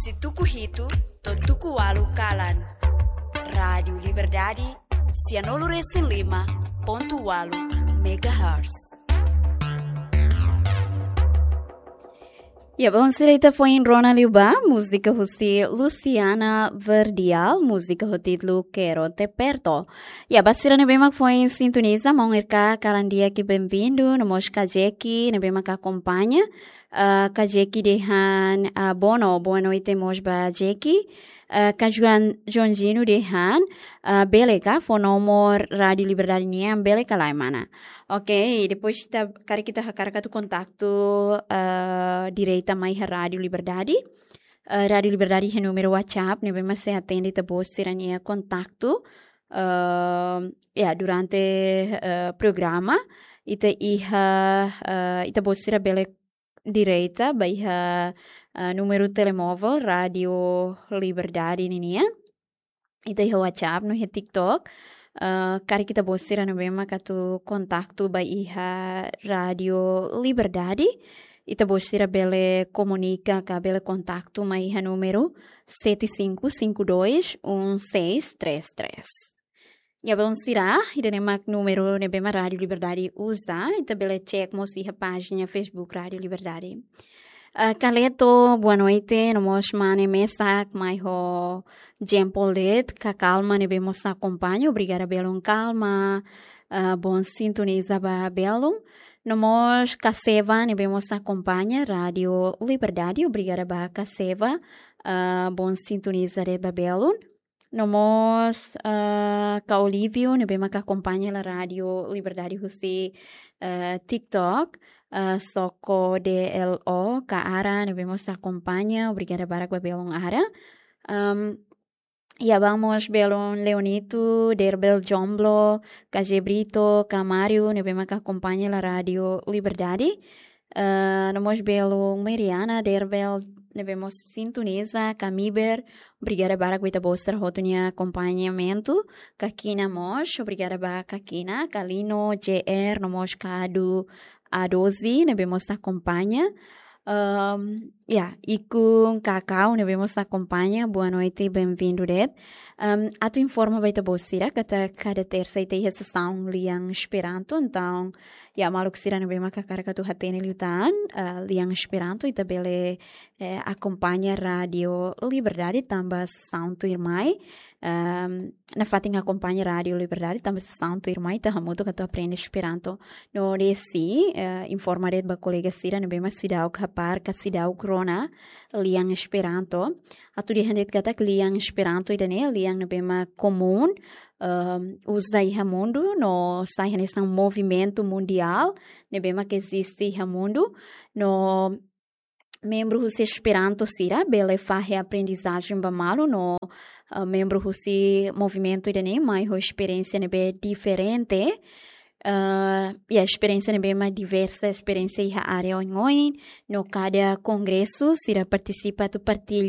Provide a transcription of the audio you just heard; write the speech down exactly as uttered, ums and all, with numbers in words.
Husi tuku hitu to'o tuku ualu kalan. Rádiu Liberdade, sianulu resin lima pontu ualu megahertz. Ya, bom, sira, ita foin rona liu ba múzika husi Luciana Verdial, múzika ho títulu Quero Te Perto. Ya, ba sira ne'ebé mak foin sintoniza, maun R K kalan di'ak, benvindu, no mós Kajeki ne'ebé mak akompaña. Ah, Kajeki dehan, ah, bono, boa noite mós ba Jeki. Ah, Kajuan Jonjino dehan, ah, bele ka fó nomor Rádiu Liberdade nian, bele ka lae, mana? Ok, depois ita, karik ita hakarak atu kontaktu, ah, direta mai iha Rádiu Liberdade. Ah, Rádiu Liberdade iha númeru WhatsApp ne'ebé mak sei atende ita-boot sira-nia kontaktu. Ah, ya, durante, ah, programa, ita iha, ah, ita-boot sira bele direta ba iha, ah, númeru telemóvel Rádiu Liberdade ninian. Ita iha WhatsApp no iha TikTok. Ah, karik ita-boot sira ne'ebé mak atu kontaktu ba iha Rádiu Liberdade, ita-boot sira bele komunika ka bele kontaktu mai iha númeru sete cinco cinco dois um seis três três. Ya, bom, sira, ida-ne'e mak númeru ne'ebé mak Rádiu Liberdade uza, ita bele cek mós iha pájina Facebook Rádiu Liberdade. Ah, Kaleto, boa noite, no mós mane mesak mai ho Jean Paul de'it, Ka Kalma ne'ebé mós akompaña, obrigada belun Kalma, ah, bom sintoniza ba belun. No mós Kaseva ne'ebé mós akompaña Rádiu Liberdade, obrigada ba Kaseva, ah, bom sintoniza de'it ba belun. No mós, ah, Ka Olívio ne'ebé mak akompaña hela Rádiu Liberdade husi, ah, TikTok, ah, Soko D L O, Ka Ara ne'ebé mós akompaña, obrigada barak ba belun Ara. Am, ya, vamos belun Leonito, Derbel Jomblo, Ka José Brito, Ka Mário ne'ebé mak akompaña hela Rádiu Liberdade. Ah, no mós belun Mariana Derbel ne'ebé mós sintoniza, Ka Miber, obrigada barak ba ita-boot sira hotu nia akompañamentu, Ka Kina mós, obrigada ba Ka Kina, Ka Lino, J R, no mós Ka Adu, A doze ne'ebé mós akompaña. Am, ya, Ikun, Kakau ne'ebé mós akompaña, boa noite, benvindu de'it. Am, atu informa ba ita-boot sira katak kada tersa ita iha sesaun Lian Esperanto, entaun, ya, maluk sira ne'ebé mak hakarak atu hatene liután, ah, Lian Esperanto, ita bele, eh, akompaña Rádiu Liberdade tanba sesaun tuirmai. Ehm, nafatin akompaña Rádiu Liberdade tanba sesaun tuirmai ita hamutuk atu aprende Esperanto. No de'it, eh, informa de'it ba kolega sira ne'ebé mak seidauk hapara ka seidauk rona Lian Esperanto. Atu dehan de'it katak Lian Esperanto ida-ne'e lian ne'ebé mak komún, ehm, uza iha mundu, no sai hanesan movimentu mundiál ne'ebé mak eziste iha mundu. No membru husi Esperanto sira bele fahe aprendizajen ba malu, no, eh, membru husi movimentu ida-ne'e mai ho esperiénsia ne'ebé diferente. Eh, ya, esperiénsia ne'ebé mak diversa, esperiénsia iha área oioin, no kada kongresu sira partisipa atu partilla